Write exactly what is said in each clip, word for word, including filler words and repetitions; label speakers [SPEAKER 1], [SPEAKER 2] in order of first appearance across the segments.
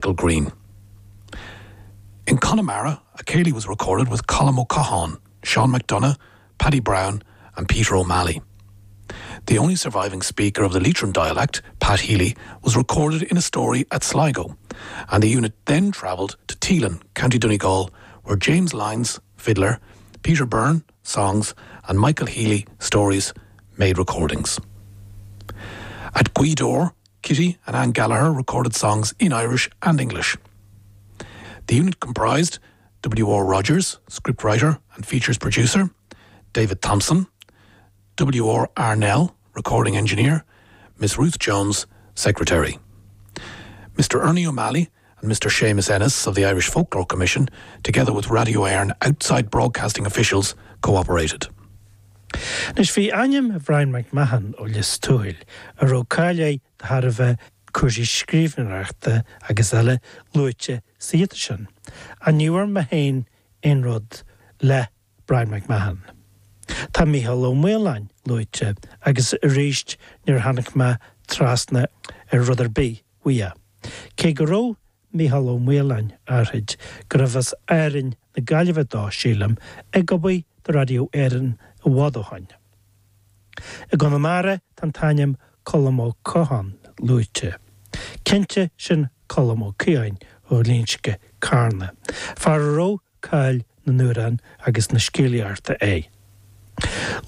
[SPEAKER 1] Green. In Connemara, a céilí was recorded with Colm Ó Catháin, Sean McDonough, Paddy Brown and Peter O'Malley. The only surviving speaker of the Leitrim dialect, Pat Healy, was recorded in a story at Sligo, and the unit then travelled to Teelin, County Donegal, where James Lyons, fiddler, Peter Byrne, songs, and Michael Healy, stories, made recordings. At Gweedore, Kitty and Anne Gallagher recorded songs in Irish and English. The unit comprised W.R. Rogers, scriptwriter and features producer, David Thompson, W.R. Arnell, recording engineer, Miss Ruth Jones, secretary. Mr. Ernie O'Malley and Mr. Seamus Ennis of the Irish Folklore Commission, together with Radio Éireann outside broadcasting officials, cooperated.
[SPEAKER 2] Anois bhí ainm Brian McMahon ó Lios Tuathail a raibh cáil air de thairbhe cúrsaí scríbhneoireachta agus eile luaite sa ghiota sin. Ach ní bhfuair mé féin aon rud le Brian McMahon. Tá Mícheál Ó Maoláin luaite agus arís níor tháinig mé trasna ar rud ar bith uaidh. Cé go raibh Mícheál Ó Maoláin áirid gurbh as Árainn na Gaillimhe dó sílim ag obair do Radio Éireann i bhfad ó shin. I gConamara tá an t-ainm Colm Ó Catháin luaite. Cinnte sin Colm Ó Ciain ó Ghlinsce Carna, fear a raibh cáil na n-amhrán agus na scéalaíochta air.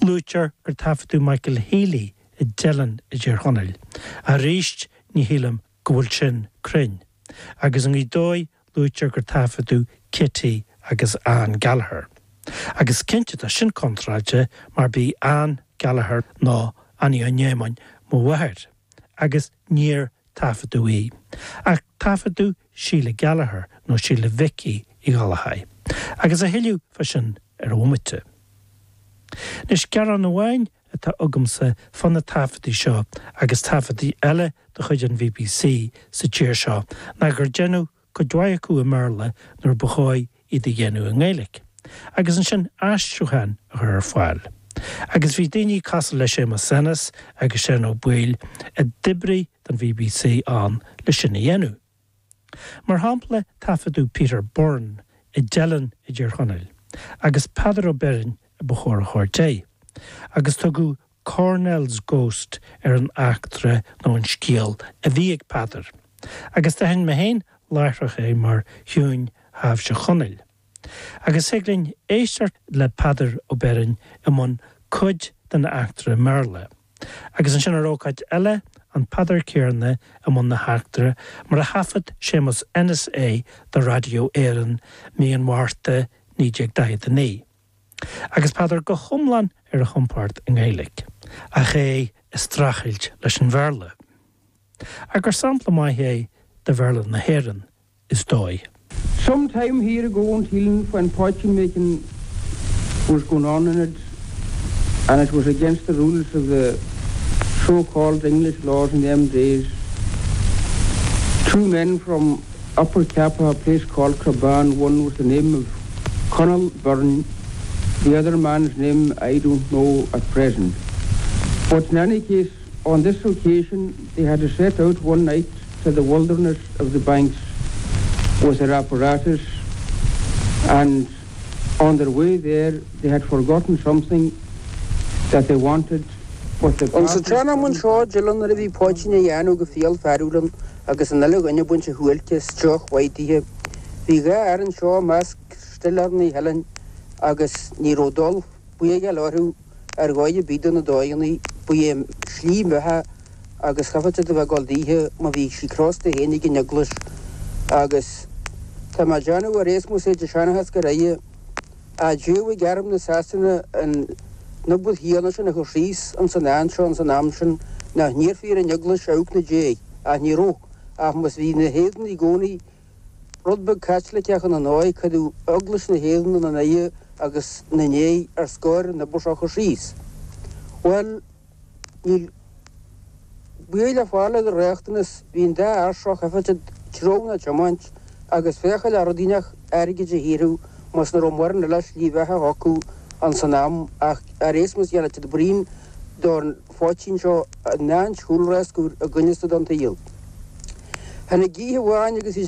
[SPEAKER 2] Luaitear gur taifeadadh Michael Healy i dTeileann i dTír Chonaill, arís ní shílim go bhfuil sin cruinn, agus i nGaoth Dobhair luaitear gur taifeadadh Kitty agus Anne Gallagher. Agus cinnte tá sin contráilte mar b'í Anne Gallagher ná Annie Ó Néamáin mo mháthair, agus níor taifeadadh í. Ach taifeadadh Síle Gallagher nó Síle Mhicí Uí Ghallchóir. Agus a thuilleadh faoi sin ar bhomaite. Anois gearán amháin atá agamsa fá na taifeadtaí seo agus taifeadtaí eile de chuid an BBC sa tír seo ná gur deineadh cuid mhaith acu i mBéarla nuair ba chóir iad a dhéanamh i nGaeilge, agus ansin aistriúchán a chur ar fáil. Agus bhí daoine cosúil le Séamus Ennis agus Seán Ó Baoill a d'oibrigh don BBC ann le sin a dhéanamh. Mar shampla taifeadadh Peter Byrne i dTeileann i dTír Chonaill, agus Peadar Ó Beirn a ba chóir a thabhairt air. Agus tugadh Cornell's Ghost ar an eachtra nó an scéal a bhí ag Peadar. Agus d'aithin mé féin láithreach é mar thiúin Thaibhse Chonaill. Agus thig linn éisteacht le Peadar Ó Beirn i mbun cuid den eachtra i mBéarla. Agus ansin ar ócáid eile an Peadar céanna i mbun na heachtra mar a thaifead Séamus Ennis é do Radio Éireann mí an Mhárta naoi déag daichead a naoi. Agus Peadar go hiomlán ar a chompord i nGaeilge, ach é ag streachailt leis an Bhéarla. Ach gur sampla maith é de Bhéarla na hÉireann is dóigh.
[SPEAKER 3] Some time here ago in Teelin when poitín making was going on in it, and it was against the rules of the so-called English laws in them days, two men from Upper Cappagh, a place called Craban, one was the name of Conall Byrne, the other man's name I don't know at present. But in any case, on this occasion, they had to set out one night to the wilderness of the banks with their apparatus, and on their way there, they had forgotten something that they wanted. But the
[SPEAKER 4] An sa tsean-am anseo i dTeileann nuair a bhí poitín á dhéanamh go fial fearúil agus an uile dhuine ag baint a shuáilce is deoch mhaith daoithe. Bhí dhá fhear anseo i measc stiléir na hEilean agus ní raibh dul buíoch orthu ar dhóigh ar bith do na dóigheanna ba é slí a mbeatha agus chaithfeadh siad a bheith ag dul daoithe má bhí sí crosta féin ag an eaglais agus tá mé ag déanamh ar éasmus é de seanchas go raibh a dúbh arm na Sasana an nubud híana sin a chur síos an san an seo an san am sin nach n-iarrfaí ar an eaglais amharc ina diaidh ach ní raibh ach mas bhí na hÉireann i gcónaí rud beag Caitliceach ina ndóigh cuireadh eaglais na hÉireann ina n-aghaidh agus na ndiaidh ar scor na bus chur síos. Well níl buí le fáil de riachtanas bhí an dá fhear seo chaithfeadh treabhadh ná tiomáint agus féachail ar rudaí airgid a shaothrú mas na raibh mórán eile slí bheatha acu an san am ach ar éasmus dhéanamh siad braon don phoitín seo an chúlra a gcoinneasta don tsaol. Tháinig oíche amháin agus bhí